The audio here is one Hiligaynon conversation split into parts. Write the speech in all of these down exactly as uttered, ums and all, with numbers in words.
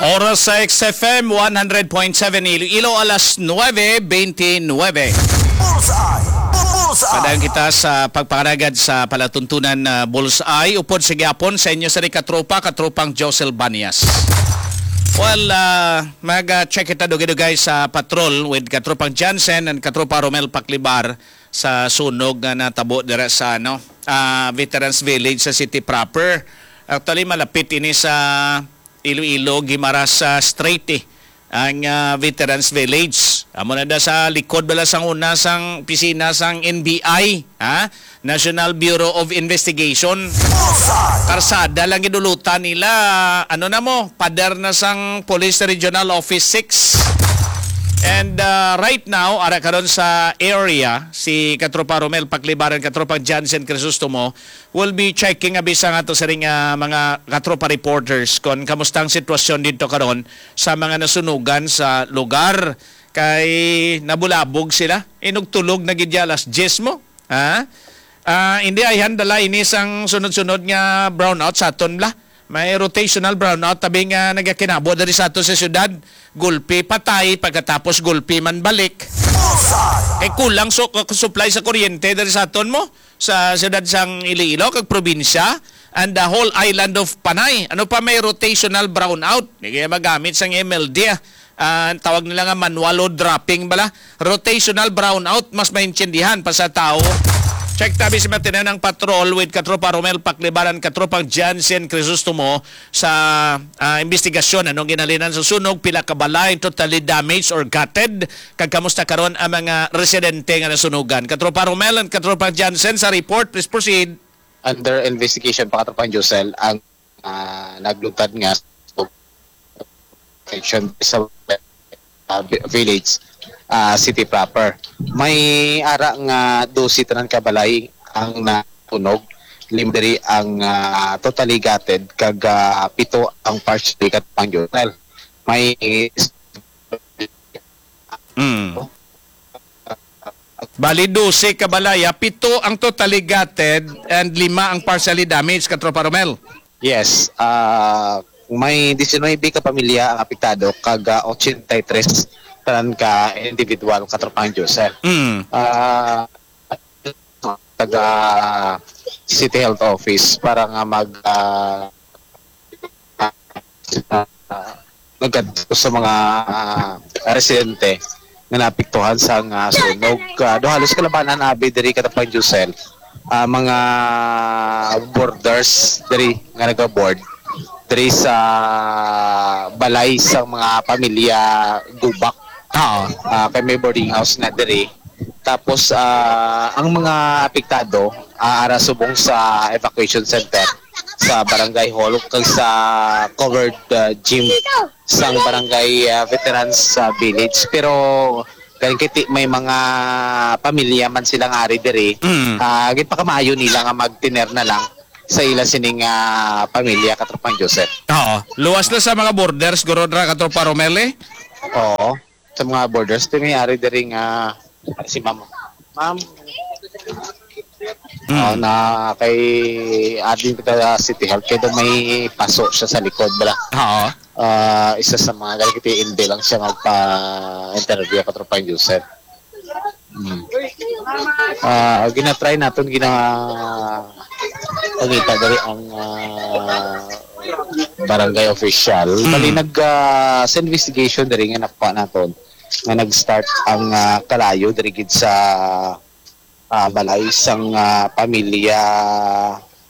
Oras sa X F M one hundred point seven Iloilo, alas nuebe beintinuebe. Bullseye! Bullseye! Padayon kita sa pagpangalagad sa palatuntunan, ah, Bullseye. Upod sa gihapon sa inyo sa katropa, katropang Josel Banias. Well, ah, mag-check kita dugay-dugay sa patrol with katropang Jansen and katropa Romel Paklibar sa sunog nga natabo dira sa, ano, ah, Veterans Village sa city proper. Actually, malapit ini sa Iloilo, Guimaras, ah, Strait, eh, ang, ah, Veterans Village. Amo na da sa likod bala sang una sang opisina sang N B I, ha? National Bureau of Investigation. Karsada lang gidulutan nila. Ano na mo? Pader na sang Police Regional Office six. And, ah, right now, ara karon sa area, si Katropa Romel Paklibaran, Katropang Jansen Crisostomo, will be checking abi sa ato siring, ah, mga katropa reporters kon kamusta ang sitwasyon didto karon sa mga nasunugan sa lugar. Kay nabulabog sila. Inugtulog na gid ya alas diyes mo. Ha? Ah, hindi ay handala ini sang sunod-sunod nga brownout sa aton bala. May rotational brownout tabi nga nagakinabo diri sa ato sa syudad. Gulpi patay, pagkatapos gulpi man balik. Kay kulang su-, supply sa kuryente diri sa aton mo, sa siyudad sang Iloilo kag probinsya, and the whole island of Panay. Ano pa, may rotational brownout. Di kaya magamit sang M L D, ah. Ah, ang tawag nila nga manual load dropping bala. Rotational brownout, mas maintindihan pa sa tao. Check tabi si Matinanang Patrol with Katropa Romel Paklibaran, Katropang Jansen Crisostomo sa, ah, investigasyon. Anong ginhalinan sa sunog? Pila ka balay totally damaged or gutted? Kag kamusta karon ang mga residente nga nasunugan? Katropa Romel and Katropang Jansen sa report. Please proceed. Under investigation pa, Katropang Josel, ang, ah, nagluntad nga section sa, ah, vi-, village, ah, city proper. May ara nga dose tanan ka balay ang natunog, limdiri ang, ah, totally gutted, kag, ah, pito ang partially, Katropang Josel. May Mm. Bali, dose ka balay, ah. Pito ang totally gutted and lima ang partially damaged, Katropa Romel. Yes, ah, may diecinuebe ka pamilya ang apektado, kag, ah, ochenta y tres tanan ka individual, Katropang Josel. Mm. Ah, taga City Health Office para nga mag, ah, ah, nagkadto sa mga, ah, residente nga naapektuhan sang, ah, sunog. Ah, do halos kalabanan abi diri, Katropang Josel, ah, mga borders diri nga nagabord diri sa balay sang mga pamilya Gubak. Oo. Ah, kay may boarding house na diri. Tapos, ah, ang mga apektado, ah, ara subong sa evacuation center sa barangay hall kag sa covered, ah, gym sang barangay, ah, veterans sa village. Pero galing kiti may mga pamilya man sila nga ari diri, Mm. ah, ginpakamaayo nila nga magtener na lang sa ila sining, ah, pamilya, Katropang Joseph. Oo. Luwas na sa mga borders, guro, dra, Katropa Romel, eh? Oo. Sa mga borders, ti may ari diri nga si Ma'am. Ma'am. Mm. Ah, na kay admin kita sa City Health, kay daw may paso siya sa likod, bala. Oo. Ah, isa sa mga galing kiti, hindi lang siya magpa-interview, Katropang Joseph. Mm. Ah, ginatry naton, gina-, pangita diri ang, ah, barangay official. Mm. Bali, nag, ah, sa investigation diri nga nakuha naton, nga nag-start ang, ah, kalayo diri gid sa, ah, balay sang, ah, pamilya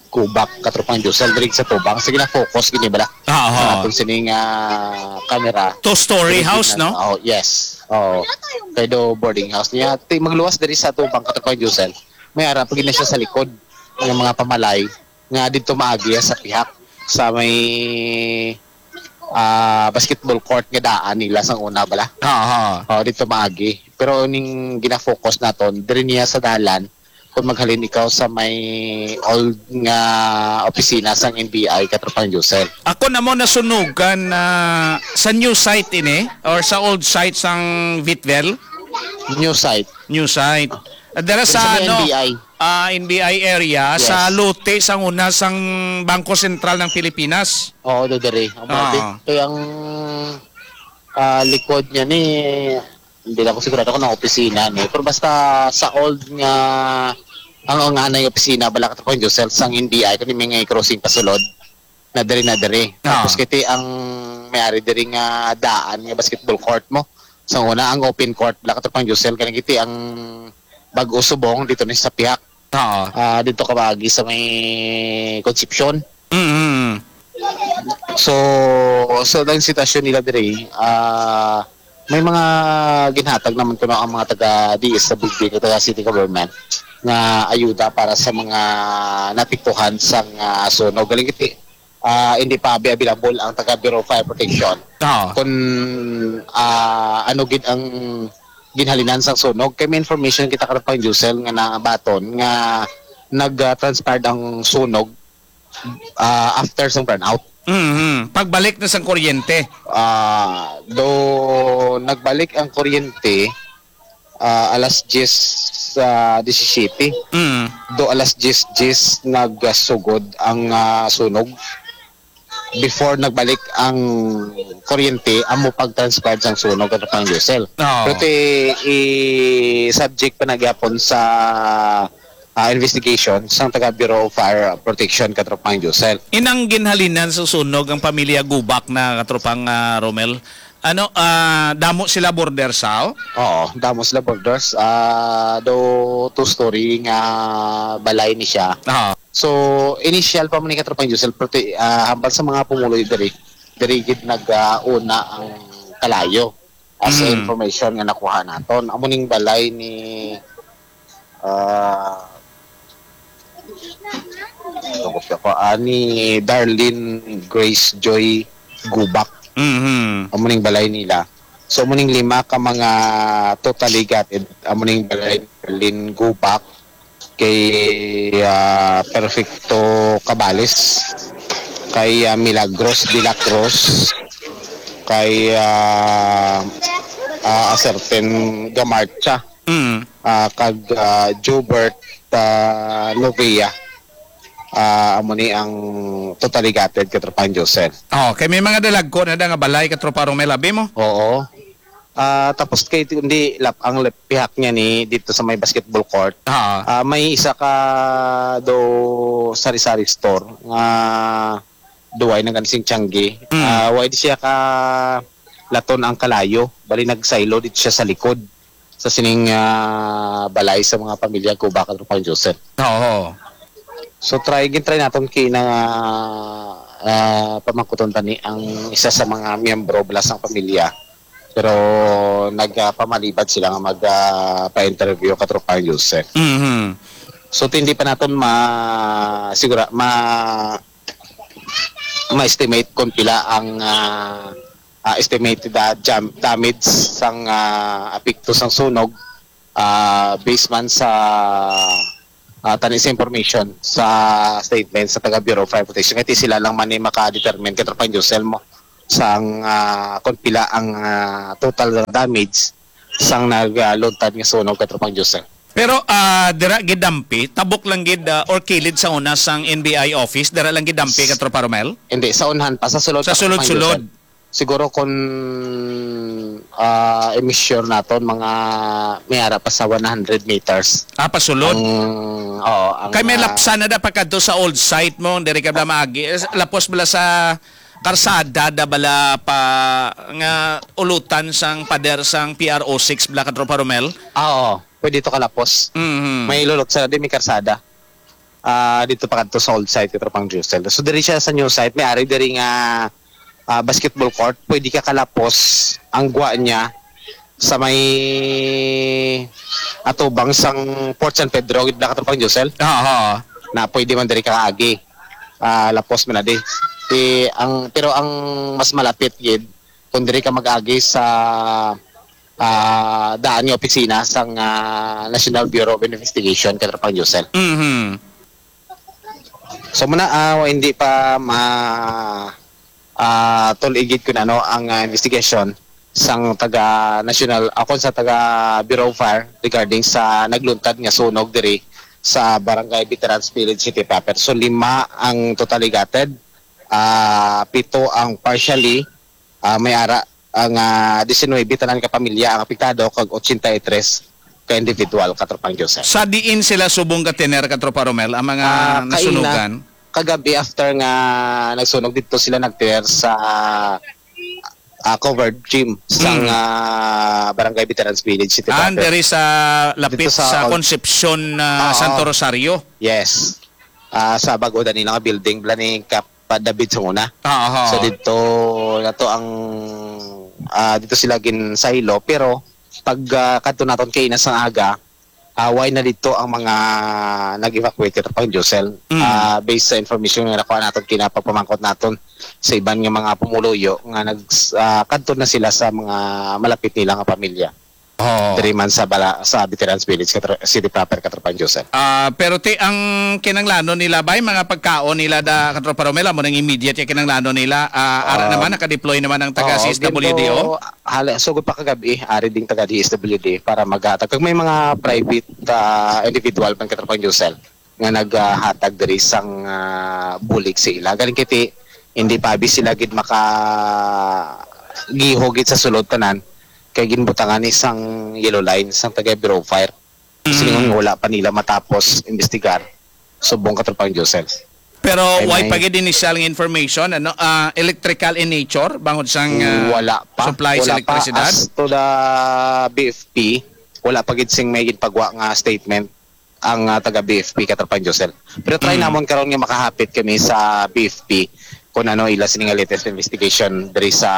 Kubak, Katropang Josel, diri sa tubang. Sige na, focus gini bala. Ah, oo. Ang atong sining, ah, camera. Two-story Diri house, gid na, no? Oh, yes. Oh. Kay do boarding house niya. Ti, magluwas diri sa tubang, Katropang Josel. May ara pa gid na siya sa likod ng mga pamalay nga dito maagi sa pihak sa may, ah, basketball court nga daan nila sang una bala. Aha. Oh, dito maagi. Pero ning gina-focus naton, diri niya sa dalan, kung maghalin ikaw sa may old nga opisina sang N B I, Katropang Josel. Ako na mo nasunugan na sa new site ini or sa old site sang Vitvel? New site. New site. Dara Diri sa sa may ano? N B I. ah, N B I area sa Yes. lote sang una sang Bangko Sentral ng Pilipinas. Oo, do diri. Ang mga Ah. di-, kaya ang, ah, likod niya ni, hindi lang ko sigurado kung ang opisina ni. Pero basta sa old nga, ang, ang anay opisina, bala ka Joseph, sang N B I, kung may nga crossing pasulod, na diri, na diri. Ah. Tapos kiti ang may-ari diri nga daan nga basketball court mo. Sa una, ang open court, bala ka Joseph, kaning kiti ang bag-o subong dito ni sa pihak. Oo. Ah, dito ka maagi sa may Concepcion. Mm. So, so ang sitwasyon nila diri, ah, may mga ginhatag naman kuno ang mga taga D S W D, taga city government, nga ayuda para sa mga naapektuhan sang, ah, sunog. Galing kiti, ah, hindi pa abi-, available ang taga Bureau of Fire Protection. Oo. Kung, ah, ano gid ang ginhalinan sang sunog. Kay may information kita karapang Josel nga nabaton nga nag-, ah, transpired ang sunog, ah, after sang brownout. Mhm. Pagbalik na sang kuryente. Ah, do nagbalik ang kuryente, ah, alas diyes, ah, disisiyete. Mm. Do alas diyes diyes nagsugod ang, ah, sunog. Before nagbalik ang kuryente, amo pag-transpired sang sunog, Katropang Josel. Oo. Pero ti, i-subject pa na gyapon sa, ah, investigation sang taga Bureau of Fire Protection, Katropang Josel. Inang ginhalinan sa sunog ang pamilya Gubak na, Katropang, ah, Romel. Ano, ah, damo sila border sa? Oo, damo sila borders. Ah, do two-story nga balay ni siya. Oo. So, initial pa man ni Katropang Josel, pero ti-, ah, hambal sa mga pumuloy diri, diri gid nag-, ah, una ang kalayo. As Mm. information nga nakuha naton. Amo ning balay ni, ah, tungkol siya ko, ah, ni Darlene Grace Joy Gubak. Mhm. Amo ning balay nila. So, amo ning lima ka mga totally gutted. Amo ning balay ni Darlene Gubak, kay, ah, Perfecto Cabales, kay, ah, Milagros de la Cruz, kay, ah, ah, a certain Gamarcha, Mm. ah, kag, ah, Jobert, ah, Novia. Ah, amo ni ang totally gutted, Katropang Josel. Oh, kay may mga dalagko na da nga balay, Katropa Romel, abi mo? Oo. Ah, tapos kay ti-, hindi lap ang lep-, pihak niya ni dito sa may basketball court. Ah. Ah, may isa ka do sari-sari store nga duway na gani sing tiyanggi. Mm. Ah, why di siya ka laton ang kalayo? Bali nagsaylo dito siya sa likod sa sining, ah, balay sa mga pamilya Gubak, Katropang Josel. Oo. So, try, gin-try naton kina, ah, pamangkuton tani ang isa sa mga miyembro bala sang pamilya. Pero nagpamalibad sila nga mag, ah, pa-interview, Katropang Joseph. Mhm. So, hindi pa naton ma-, sigura, ma-, ma-estimate kung pila ang, ah, ah, estimated, ah, jam-, damage sang, ah, apekto sang sunog, ah, based man sa, ah, tani sa information sa statement sa taga Bureau of Fire Protection. Kaya sila lang man ni maka-determine, Katropang Josel mo, sang, ah, kung pila ang, ah, total damage sang nagluntad nga sunog, Katropang Josel. Pero, ah, dira gidampi, tabok lang gid, ah, or kilid sa una sang N B I office, dira lang gidampi, Katropa Romel? Hindi, sa unahan pa, sa sulod Sa pa, Katropang sulod-sulod. Josel. Siguro kung, ah, i-measure naton, mga may ara pa sa one hundred meters. Ah, pasulod? Ang, oo, ang, Kay may ah, lapsa na da pagkadto sa old site mo, diri ka bala maagi. Eh, lapos bala sa karsada da bala pa nga ulutan sang pader sang P R O six bala, Katropa Romel? Ah, oo. Pwede to kalapos. Mhm. May lulot sa di may karsada. Ah, dito pa kadto sa old site, Katropang Josel. So, diri siya sa new site. May ari diri nga, ah, basketball court. Pwede ka kalapos ang gwa niya sa may atubang sang Port San Pedro, gid na, Katropang Josel. Oo. Na pwede man diri ka agi. Ah, lapos man na di. Di, ang, pero ang mas malapit gid, kung diri ka mag-agi sa, ah, daan nga opisina sang, ah, National Bureau of Investigation, Katropang Josel. Mhm. So, muna, ah, hindi pa ma-, ah, tuligid kung ano ang, ah, investigation sang taga National, ako sa taga Bureau of Fire regarding sa nagluntad nga sunog diri sa Barangay Veterans Village City proper. So, lima ang totally gutted, ah, pito ang partially, ah, may ara ang, ah, diecinuebe tanan ka pamilya ang apektado, kag ochenta y tres ka individual, Katropang Joseph. Sa diin sila subong ka tener, Katropa Romel, ang mga Ah, kaina, nasunugan? Kagabi, after nga nagsunog dito, sila nagtener sa, ah, covered gym sang, Mm. ah, Barangay Veterans Village, City Ah, Proper. Diri sa lapit Dito sa sa Con- Concepcion, ah, Oo. Santo Rosario. Yes. Ah, sa bago na nila nga building, bala ni Kap David sa una. Ah, aha. So, dito na to ang, ah, dito sila ginsaylo, pero pag, ah, kadto naton kay inas ang aga, ah, way na dito ang mga nag-evacuate, Katropang Josel. Mm. Ah, based sa information nga nakuha naton, kinapagpamangkot naton sa iban nga mga pumuluyo nga nag-, ah, kadto na sila sa mga malapit nila nga pamilya. Oo. Diri man sa bala-, sa Veterans Village, Katro-, City Proper, Katropang Josel. Ah, pero ti, ang kinanglanon nila bay, mga pagkaon nila da, Katropa Romel, amo nang immediate nga kinanglanon nila. Ah, ara Um, naman, naka-deploy naman ang taga oo, C S W D O. Ginto, hala, sugod pa kagabi, ari ding taga D S W D para maghatag. Kag may mga private, ah, individual man, Katropang Josel, nga naghatag diri sang, ah, bulig sa ila. Galing kiti, hindi pa abi sila gid maka-, giho gid sa sulod tanan, kay ginbutangan ni sang yellow line, sang taga Bureau of Fire. Mm. Silingon nga wala pa nila matapos imbestigar, subong, Katropang Josel. Pero Ay, way may pa gid initial nga information, ano, ah, electrical in nature, bangod sang, ah, Wala pa. supply sa Wala pa. Elektrisidad? As to the B F P, wala pa gid sing may ginpagwa nga statement ang, ah, taga B F P, Katropang Josel. Pero try Mm. namon karon nga makahapit kami sa B F P kung ano ila sini nga latest investigation diri sa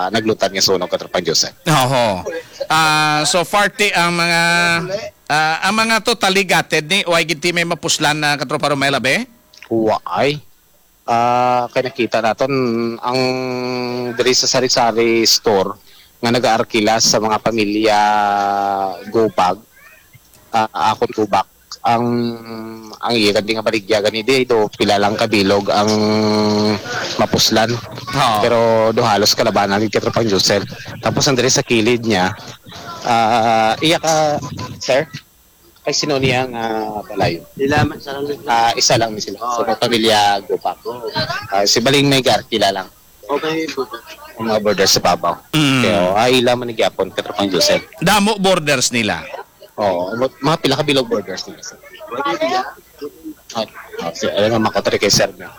naglutan nga sunog, Katropang Josel. Oho. Ah, so far ti ang mga, ah, ang mga totally gutted ni, way gid ti may mapuslan na, Katropa Romel, abi? Waay. Ah, kay nakita naton ang diri sa sari-sari store nga nagaarkila sa mga pamilya Gubag, ah, akon Gubak, ang, ang iya gani nga baligya gani di do pila lang ka bilog ang mapuslan. Oo. Pero do halos kalabanan gid, Katropang Josel. Tapos ang diri sa kilid niya, ah, iya ka, sir? Kay sino niya nga balay? Sila man sa lang. Ah, isa lang ni sila. Oo. So, may pamilya Gubak. Oo. Ah, si Baling may gar, kilala lang. Okay, Buddha. Ang mga borders sa babaw. Mm. Kaya, ah, ila man ni gyapon, Katropang Joseph. Damo borders nila. Oo, mga, mga pila ka bilog borders nila, sir? Pwede sila. Ah, ah, si, alam mo, makatari kay sir na.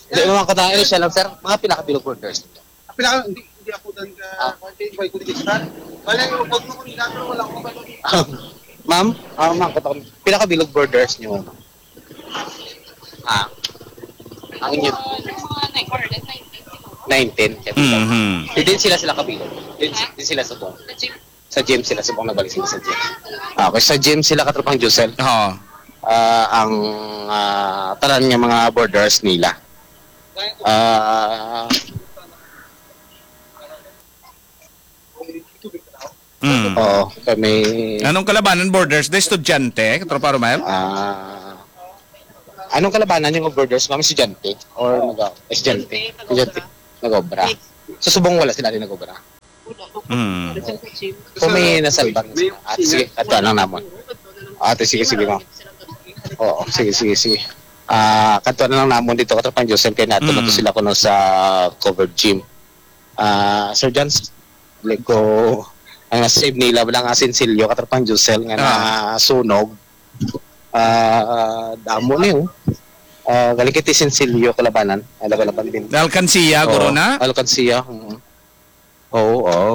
Hindi, mga katayo siya lang, sir. Mga pila ka bilog borders nila. Pila ka, hindi, hindi ako dan ka, Ah. kay, kay, kay, kay, Bale, wag mo kung ginagawa, wala akong kabalo. Ma'am, ah, ma'am, katong, pila ka bilog borders niyo, ma'am? Ah, ang inyo? Mga nine, more than nineteen siguro. Nineteen, kaya Mhm. Di din sila, sila kabilog. Di, Ha? Di sila sa buong. Sa gym. Sa gym sila, subong nagbalik sila sa gym. Ah, okay, sa gym sila, Katropang Josel. Oo. Ah, ang, ah, tanan nga mga borders nila. Ah, Mm. Oo, kami. Anong kalabanan borders? Di estudyante, Katropa Romel? Ah, anong kalabanan yung borders? Kami estudyante? Or nag-, estudyante? Estudyante. Nag-obra. So, subong wala sila rin nag-obra. Mm. Kung may nasalbang. At sige, ato lang namon. Ate, sige, sige, ma'am. Oo, sige, sige, sige. Ah, kadto na lang namon dito, Katropang Josel, kay nato na to Mm. sila kuno sa covered gym. Ah, Sir Jans, like ko, ang na-save nila lang ang sinsilyo, Katropang Josel, nga Ah. nasunog. Ah, damo ni, oh. Ah, galing kay sinsilyo kalabanan. Ay, laban-laban din. Alkansiya, Oo, guro na? Alkansiya, mm. Oo, oo.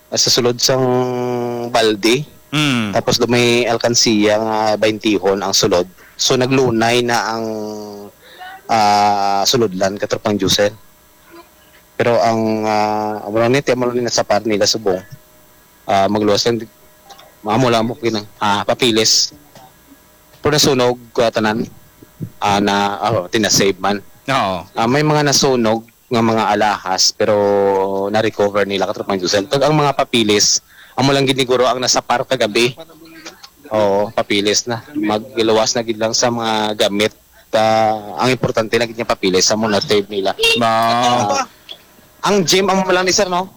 Sa sulod sang balde. Mm. Tapos do may alkansiya nga baintihon ang sulod. So, naglunay na ang, ah, sulodlan, Katropang Josel. Pero ang, ah, amo lang ni, amo lang ni nasapar nila subong. Ah, magluwas lang, di-, amo lang mo kinang, ah, papilis. Pero nasunog, ah, tanan. Ah, na, ah, tinasave man. Oo. Ah, may mga nasunog nga mga alahas, pero na-recover nila, Katropang Josel. Kag ang mga papilis, amo lang gid ni guro ang nasapar kagabi. Oo, papilis na. Magluwas na gid lang sa mga gamit. Ah, ang importante na gid nga papilis, amo na-save nila. Wow. Ah, ang gym, amo lang ni sir, no?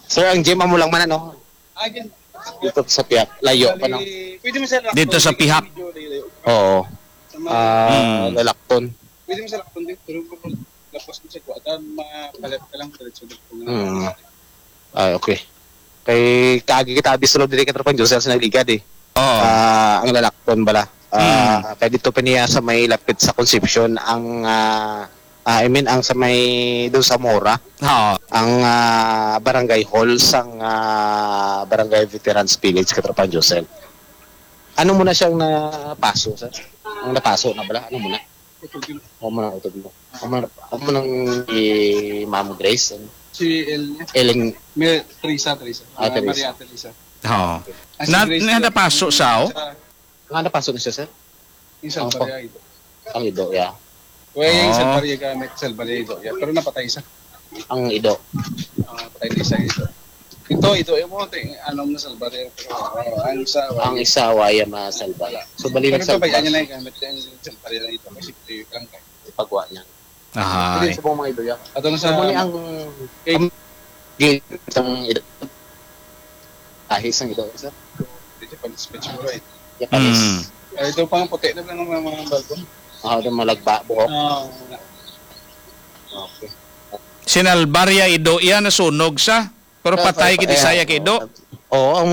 Sir, ang gym, amo lang man, ano? Ah, gym. Dito sa Piak, layo pa, no? Bali, pwede mo sa Dito sa Lakton, Pihak. Medyo layo. Oo. Sa mga Ah, Mm. Lalakton. Pwede mo sa Lakton din, pero lapos mo sa Kuwatan, mapalit ka lang, diretso dito. Mm. Ah, okay. Kay kaagi kita abi sulod diri ka Tropang Josel sa nagligad eh. Oo. Ah, ang Lalakton bala. Ah, Mm. Kay dito pa niya sa may lapit sa Concepcion ang, ah, ah, I mean, ang sa may doon sa Mora, Oo. ang, ah, barangay hall sang, ah, Barangay Veterans Village, Katropang Josel. Ano mo na siyang napaso, sir? Ang napaso na bala? Ano mo na? Utod yun. Amo na, utod mo. Amo na, amo nang i Ma'am Grace, ano? Si El niya. Ellen. May Teresa, Teresa. Ah, Ma-, Teresa. Maria Teresa. Oo. Ah, si Na, Grace na yun. Napaso sa, oh? Sa Nga napaso na siya, sir? Yung Ang pa- Salvaria ito. Ang ido, yeah. Well, yung Oh. Salvaria gamit, Salvaria ito. Yeah. Pero napatay isa. Ang ido. Ah, patay na isa ito. Ito, ito, yung mga ting-, ano na Salvaria. Pero, ah, ang isa, Ang wala. Isa, waya masalba. So, bali Pero ito, nagsalba. Bayaan niya na yung gamit. Yung Salvaria na ito. Kasi ito yung lang kayo. Ipagwa niya. Ahay. Hindi, sa mga ido, yeah. Ato na sa Amo ni ang, eh, ang, ang, ang ido. Ahis ang ido, sir. Dito pa, sa Petsura, eh. Japanese. Mm. Ay, ito pang puti na lang ang mga, mga balbon. Ah, ito malagba, buhok. Ah, wala. Okay. Sinalbar ya ido iya, nasunog sa. Pero Ah, patay ah, gid ah, siya kay ido. Oo, ang,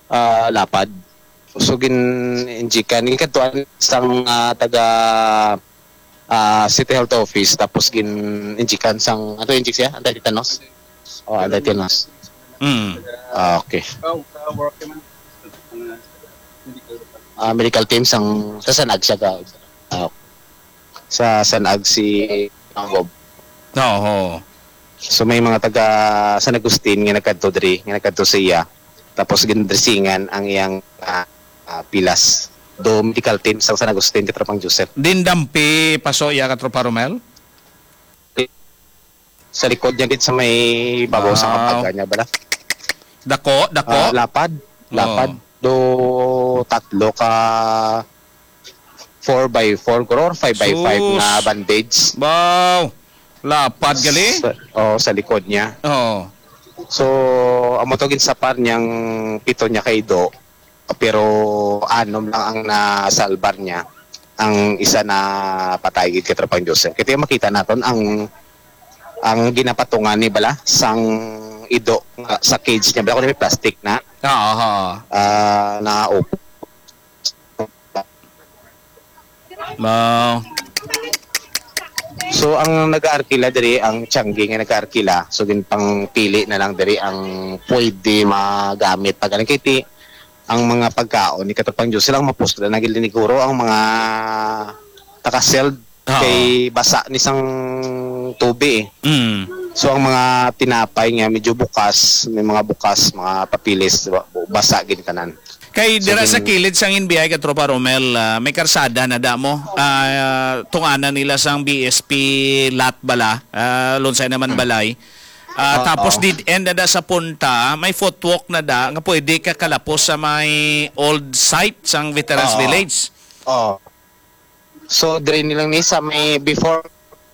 ah, lapad. So, gin-injikan. Gikadtuan sang, ah, taga, ah, City Health Office, tapos gin-injikan sang, ano, injik siya? Anti-tetanus? Oh, anti-tetanus. Mm. Ah, okay. Ah, medical team sang, sa San Ag siya ga-, ah, sa San Ag si Mangob. Oo. So, may mga taga San Agustin nga nagkadto diri, nga nagkadto sa iya. Tapos gindresingan ang iyang, ah, ah, pilas. Do medical team sa San Agustin, Katropang Joseph. Din dampi, paso iya, Katropa Romel? Sa likod niya, gid sa may babaw sa Wow. Kapagan niya, bala. Dako, dako? Ah, lapad. Oo. Lapad. Do tatlo ka four by four, guro, or five by five Sus. Na bandage. Wow. Lapad gali? Sa, oh, sa likod niya. Oo. So, amo to, ginsapar niyang pito niya ka ido, pero anom lang ang nasalbar niya. Ang isa na patay gid, Katropang Joseph. Kaya makita naton ang, ang ginapatungan ni bala sang ido nga sa cage niya. Bala ko na may plastic na. Oo, oo. Ah, na open. Mao. So, ang nag-aarkila diri, ang Tiangge nga nag-aarkila, so ginpangpili na lang diri ang pwede magamit. Pag ang kiti, ang mga pagkaon ni Katropang Josel, ang mapuslan na gid ni guro ang mga taka-sealed Oo. Kay basa ni sang tubi eh. Mm. So, ang mga tinapay nga medyo bukas, may mga bukas, mga papilis, ba-, basa gid tanan. Kay So, dira sa gin- kilid sang N B I, Katropa Romel, ah, may karsada na da mo. Ah, tunganan nila sang B S P lot bala, ah, Lunsay naman Hmm. balay. Ah, Oo. Tapos dead end na da sa punta, may footwalk na da nga pwede ka kalapos sa may old site sang Veterans Oo. Village. Oo. So, diri ni lang ni sa may before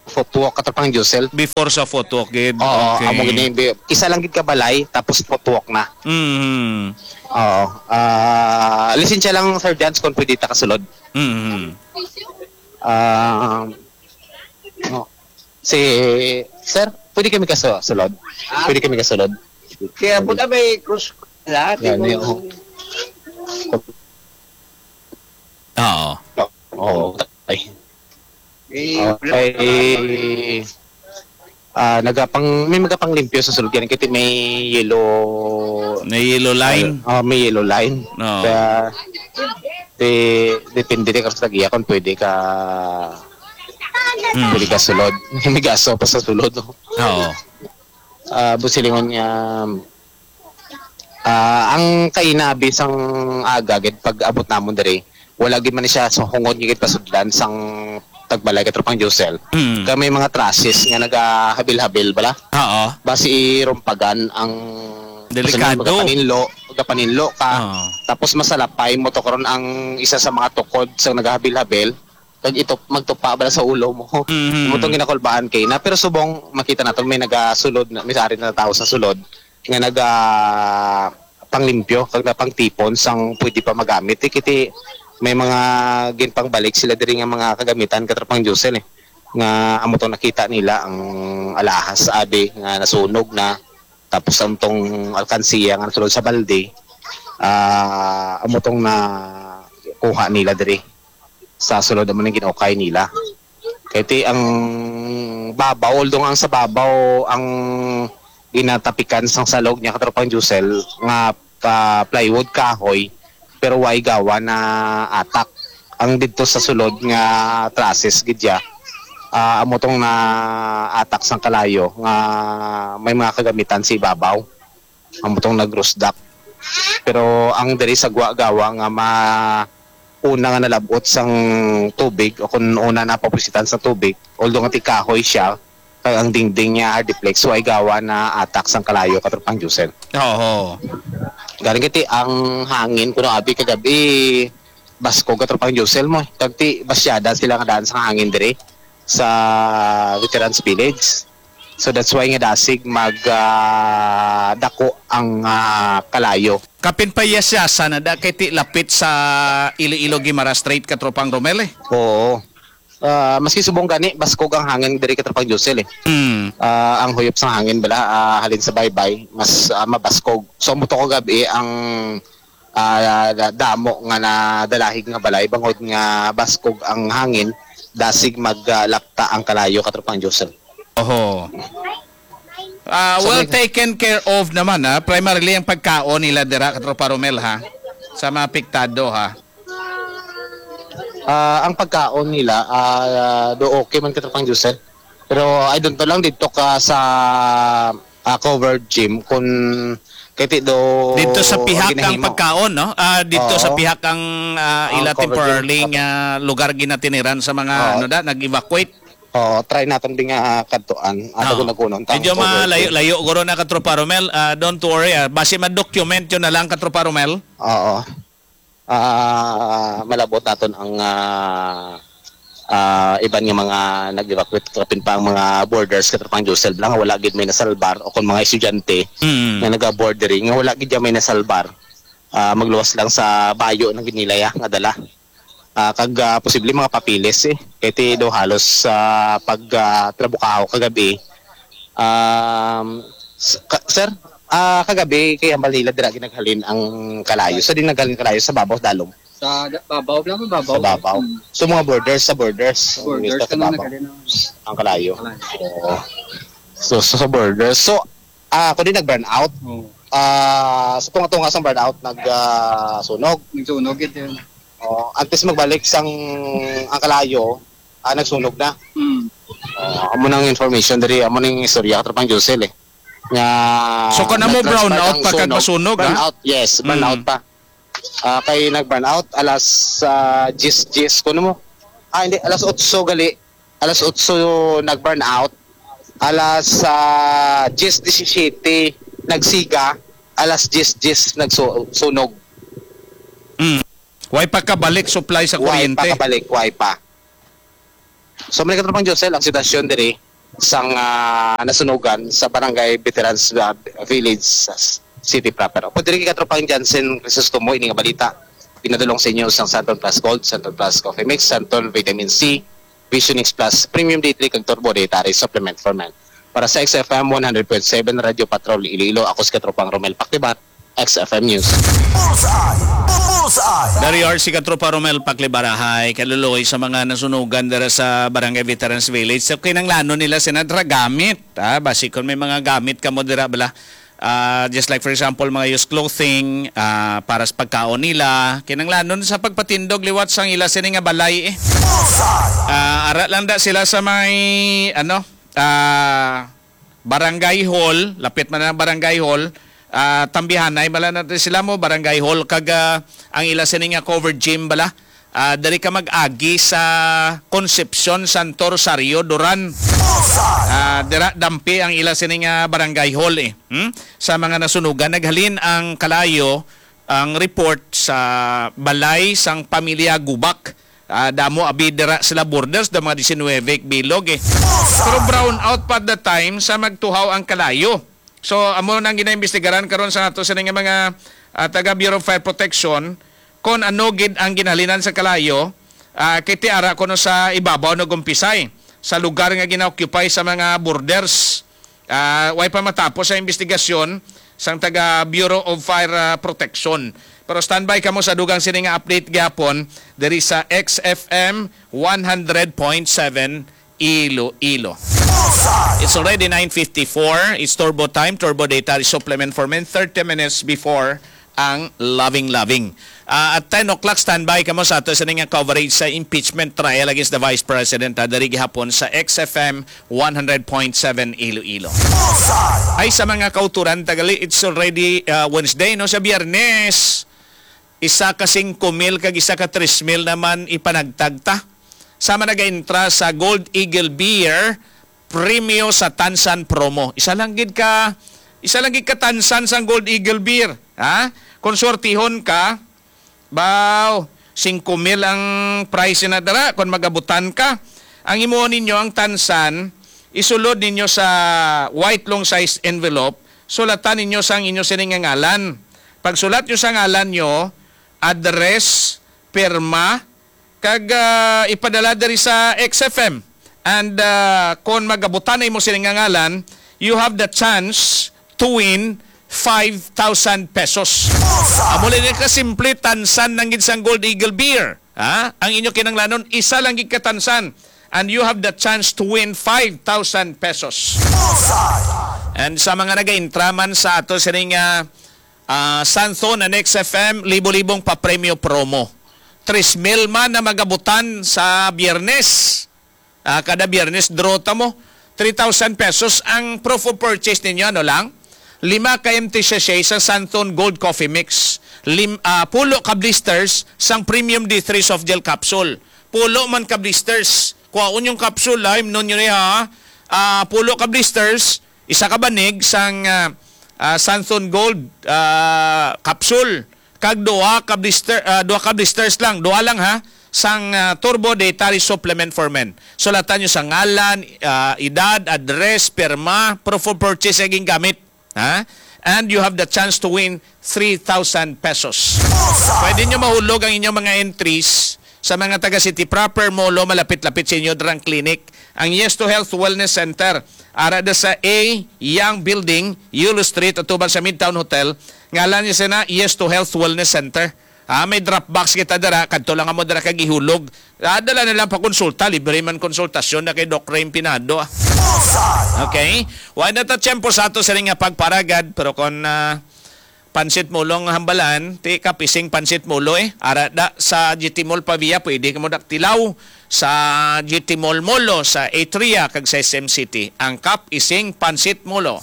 footwalk, Katropang Josel. Before sa footwalk gid. Oo, Okay. amo gid ni, bi-, isa lang gid ka balay, tapos footwalk na. Mhm. Oo. Ah, lisensya lang, Sir Jans, kung pwede ta kasulod. Mhm. Ah, no. Si, sir, pwede kami kaso-, sulod? Ah? Pwede kami kasulod? Kaya po na may cross lahat, Yan, yung yung Oo. Oo. Ay. Eh, Okay. Ah, nagapang, may magapanglimpyo sa sulod yan kasi may yellow May yellow line? Ah, may yellow line. Oo. Kaya, di, depende din ka sa tagiya kung pwede ka, Hmm. pwede ka sulod. May gaso pa sa sulod, no? Oo. Ah, busilingon nga, ah, ang kainabi sang aga gid pag abot namon diri, wala gid man siya sa hungod nga gid pasudlan sang tagbalay, Katropang Josel. Mm. Kay may mga trusses nga nagahabil-habil bala. Oo. Basi irumpagan ang Delikado. Gapaninlo, gapaninlo ka. Oo. Tapos masalapay mo to karon ang isa sa mga tukod sa nagahabil-habil. Kag ito, magtupa bala sa ulo mo. Mhm. Amo tong ginakulbaan kay na. Pero subong makita naton may nagasulod na, may ari na tao sa sulod. nga naga panglimpyo kag napangtipon sang pwede pa magamit. Eh, kiti may mga ginpangbalik sila diri nga mga kagamitan, Katropang Josel, eh, nga amo tong nakita nila ang alahas sa abi nga nasunog na, tapos ang tong alkansiya nga nasulod sa balde, ah, amo tong na kuha nila diri sa sulod amo ning ginukay nila. Kay ti ang babaw, although ang sa babaw ang ginatapikan sang salog niya, Katropang Josel, nga pa plywood, kahoy, pero way gawa na atak. Ang didto sa sulod nga trusses gid ya, ah, amo tong na atak sang kalayo nga may mga kagamitan sa ibabaw. Amo tong nagrusdak. Pero ang diri sa gwa gawa nga ma una nga nalab-ot sang tubig o kung una napapusitan sa tubig, although nga ti kahoy siya, kag ang dingding niya hardiplex, way gawa na atak sang kalayo, Katropang Josel. Oo. Galing kiti ang hangin kuno abi kagabi, baskog, Katropang Josel, mo. Kag ti basyada sila nga daan sang hangin diri sa Veterans Village. So that's why nga dasig mag ah, dako ang ah, kalayo. Kapin pa iya siya sa nada kay ti lapit sa Iloilo Guimaras Strait, Katropang Romel, eh. Oo. Ah, maski subong gani, baskog ang hangin diri, Katropang Josel, eh. Mm. Ah, ang huyop sang hangin bala, ah, halin sa baybay, mas ah, mabaskog. So, amo to kagabi ang ah, da- damo nga nadalahig nga balay bangod nga baskog ang hangin, dasig maglakta ang kalayo, Katropang Josel. Oho. Ah, So, well may taken care of naman, ha. Primarily ang pagkaon nila dira, Katropa Romel, ha. Sa mga apektado, ha. Ah, ang pagkaon nila, ah, do okay man, Katropang Josel. Pero I don't know lang dito ka sa ah, covered gym kung kay ti do Dito sa pihak ang ginahimo. Pagkaon, no? Ah, dito sa Oo. Pihak ang ah, Ang ila covered gym. Temporarily nga lugar ginatiniran sa mga Oo. Ano da nag-evacuate. Oo, try naton di nga ah, kadtuan. Ah, Oo. Dagon-dagonon ta ang Medyo covered malayo gym. Layo guro na, Katropa Romel. Ah, don't worry, ah. Basi ma-document yun na lang, Katropa Romel. Oo. Ah, malabot naton ang ah, ah, iban nga mga nag-evacuate, kapin pa ang mga borders, Katropang Josel, lang wala gid may nasalbar, o kung mga estudyante Mm. Nga naga-board diri nga wala gid may nasalbar. Ah, magluwas lang sa bayo na gid nila ya nga dala. Ah, kag ah, posible mga papeles, eh, kay ti do halos sa pag ah, trabukaho kagabi. Um, s- ka- sir, ah, kagabi kay hambal nila dira ginaghalin ang kalayo. So di naghalin kalayo sa babaw, dalom. Sa da- babaw lang, babaw. Sa babaw. Mm. So mga borders, sa borders. Borders Sa ka na babaw. Naghalin ang Ang kalayo. Kalayo. Oo. So, so sa borders. So, ah, ako din nag-brownout. Oo. Ah, sa tunga-tunga sang brownout nag ah, sunog. Nagsunog ito yun. Oh, antes magbalik sang ang kalayo, ah, nagsunog na. Mm. Oh, amo nang information diri, amo ning istorya, Katropang Josel, eh. Nga So, kanamo nag-transpire brownout ang pa kag sunog. Masunog, ha? Brownout, yes, brownout Mm. pa. Ah, kay nag-brownout alas ah, diyes diyes kuno mo. Ah, hindi, alas otso gali. Alas otso nag-brownout. Alas ah, diyes disisiyete nagsiga. Alas diyes diyes nagsunog. Mm. Way pa kabalik supply sa Way kuryente. Pa kabalik, way pa. So, mga katropang Josel, ang sitwasyon diri sang ah, nasunugan sa Barangay Veterans ah, Village sa s- City proper. Pwede rin katropang Jansen Crisostomo, ini nga balita pinadulong sa inyo sang Santon Plus Gold, Santon Plus Coffee Mix, Santon Vitamin C, Vision X Plus, Premium D three, kag Turbo Dietary Supplement for Men. Para sa X F M one hundred point seven Radio Patrol Iloilo, ako si katropang Romel Pactibat, X F M News. Bullseye! Bullseye! Dari R C Katropa Romel Paklibarahay, kaluloy sa mga nasunugan dira sa Barangay Veterans Village. So, kinanglanon nila sina dra gamit. Ah, basi kung may mga gamit ka mo dira, bala, ah, just like for example, mga used clothing, ah, para sa pagkaon nila, kinanglanon sa pagpatindog liwat sang ila sini nga balay eh. Bullseye! Ah, ara lang da sila sa may, ano, ah, barangay hall, lapit man ang barangay hall, ah, tambihanay bala natin sila mo, barangay hall, kag ah, ang ila sini nga covered gym bala. Ah, diri ka mag-agi sa Concepcion Santo Rosario, Duran. Ah, dira dampi ang ila sini nga barangay hall eh. Hmm? Sa mga nasunugan, naghalin ang kalayo ang report sa balay sang pamilya Gubak. Ah, damo abi dira sila borders, da mga diecinuebe bilog eh. Pero brown out pa the time sa magtuhaw ang kalayo. So, amo nang ginaimbestigaran karon sa ato sini nga mga, ah, taga Bureau of Fire Protection, kung ano gid ang ginhalinan sa kalayo, ah, kay ti ara kuno sa ibabaw nag-umpisay, sa lugar nga gina-occupy sa mga borders. Ah, way pa matapos ang investigasyon sang taga Bureau of Fire, ah, Protection. Pero standby kamo sa dugang sini nga update gihapon diri sa X F M one hundred point seven Iloilo. It's already nine fifty-four. It's Turbo Time, Turbo Data Supplement for Men, thirty minutes before ang Loving Loving. Ah, at ten o'clock, standby kamo sa ato sini nga coverage sa impeachment trial against the Vice President, ah, diri gihapon sa X F M one hundred point seven Iloilo. Ay, sa mga kauturan, tagali, it's already, ah, Wednesday, no? Sa Biyernes, isa ka singko mil kag isa ka tres mil naman ipanagtag ta. Sama nagaintra sa Gold Eagle Beer, premyo sa Tansan promo. Isa lang gid ka, isa lang gid ka Tansan sang Gold Eagle Beer, ha? Kung swertihon ka, baw, singko mil ang prize na dara kung magabutan ka. Ang imo ninyo ang Tansan, isulod ninyo sa white long size envelope, sulatan ninyo sang inyo sini nga ngalan. Pagsulat nyo sa ngalan nyo, address, pirma, kag, ah, ipadala diri sa X F M. And, ah, kon magabutan na imo sini nga ngalan, you have the chance to win five thousand pesos. Amo lang ka simple, Tansan lang gid sang Gold Eagle Beer. Ha? Ang inyo kinanglanon, isa lang gid ka Tansan. And you have the chance to win five thousand pesos. And sa mga nagaintraman sa ato sining, ah, ah, Santhon and X F M, libo-libong papremyo promo. Tres mil man na magabutan sa Biyernes. Ah, kada Biyernes, draw ta mo. Three thousand pesos ang proof of purchase ninyo, ano lang? Lima ka empty sachet sa Santhon Gold Coffee Mix. Lim-, ah, pulo ka blisters sang Premium D three Soft Gel Capsule. Pulo man ka blisters. Kuhaon yung capsule, ha? Imnon nyo niya, ha? Ah, pulo ka blisters, isa ka banig sang, ah, ah, Santhon Gold, ah, capsule. Kag duha ka blister, ah, duha ka blisters lang, duha lang ha, sang, ah, Turbo Dietary Supplement for Men. Sulatan nyo sa ngalan, ah, edad, address, pirma, proof of purchase nga gingamit, ha? And you have the chance to win three thousand pesos. Pwede nyo mahulog ang inyong mga entries sa mga taga City Proper, Molo, malapit-lapit sa inyo, drang clinic, ang Yes to Health Wellness Center. Ara da sa A Young Building, Yulo Street, atubang sa Midtown Hotel. Ngalan niya sina Yes to Health Wellness Center. Ah, may drop box kita dira. Kadto lang mo dira kag ihulog. Ah, dala na lang pa konsulta. Libre man konsultasyon na kay Doc Raym Pinado, ah. Okay? Wala na ta tiyempo sa ato sa nga pagparagad. Pero kung, ah, pansit molo ang hambalan, ti kapising pansit molo, eh. Ara da sa G T Mall Pavia, pwede ka mo daktilaw sa G T Mall Molo sa Atria kag sa S M City. Ang kap ising pansit molo.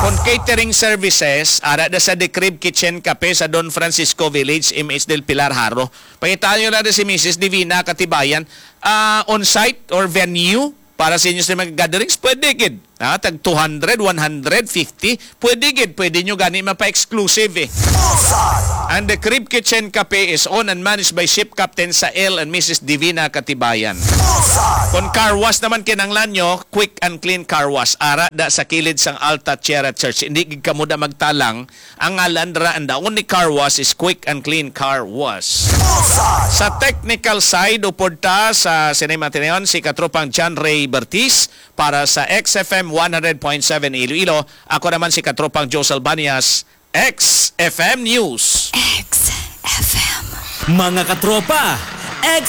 Kon catering services, ara da sa The Crib Kitchen Cafe sa Don Francisco Village, M H Del Pilar, Jaro. Pangitaan nyo lang si Missus Divina Katibayan. Ah, on-site or venue para sa inyo sa mga gatherings, pwede gid. Ah, tag two hundred, one hundred fifty, pwede gid, pwede nyo gani mapa-exclusive, eh. And the Crib Kitchen Cafe is owned and managed by Ship Captain Sael and Missus Divina Katibayan. Kung car wash naman kinanglan nyo, Quick and Clean Car Wash. Ara da sa kilid sang Alta Tierra Church. Hindi gid kamo da magtalang. Ang ngalan ra, ang daon ni Car Wash is Quick and Clean Car Wash. Sa technical side, upod ta sa Cinema Tineon, si Katropang John Ray Bertis para sa X F M one hundred point seven Iloilo. Ako naman si Katropang Joe Salbanias, X F M News. X F M. Mga katropa, X